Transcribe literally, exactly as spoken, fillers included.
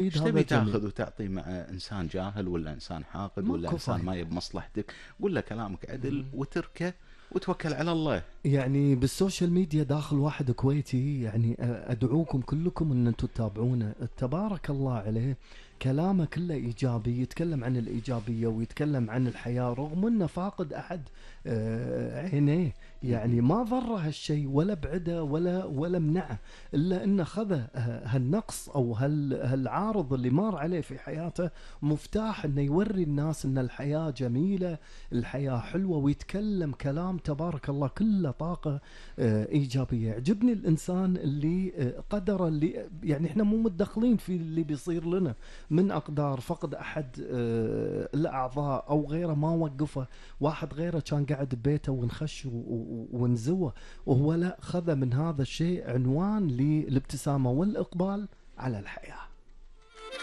أكيد ايش هذا تبي جميل. تاخذ وتعطي مع انسان جاهل ولا انسان حاقد ولا ماكو انسان ما فايدة. يب مصلحتك؟ قول له كلامك عدل مم. وتركه وتوكل على الله. يعني بالسوشيال ميديا داخل واحد كويتي، يعني ادعوكم كلكم ان انتم تتابعونه، تبارك الله عليه، كلامه كله ايجابي، يتكلم عن الايجابيه ويتكلم عن الحياه رغم انه فاقد احد آه، عينيه. يعني مهم. ما ضره هالشيء ولا بعده ولا ولا منعه، الا انه خذ هالنقص او هال هالعارض اللي مر عليه في حياته مفتاح انه يوري الناس ان الحياه جميله، الحياة حلوة، ويتكلم كلام تبارك الله كله طاقة آه، إيجابية. يعجبني الإنسان اللي آه، قدر، اللي يعني إحنا مو متدخلين في اللي بيصير لنا من أقدار فقد أحد آه، الأعضاء أو غيره، ما وقفه. واحد غيره كان قاعد ببيته ونخش و- و- ونزوه، وهو لا، خذ من هذا الشيء عنوان للابتسامة والإقبال على الحياة.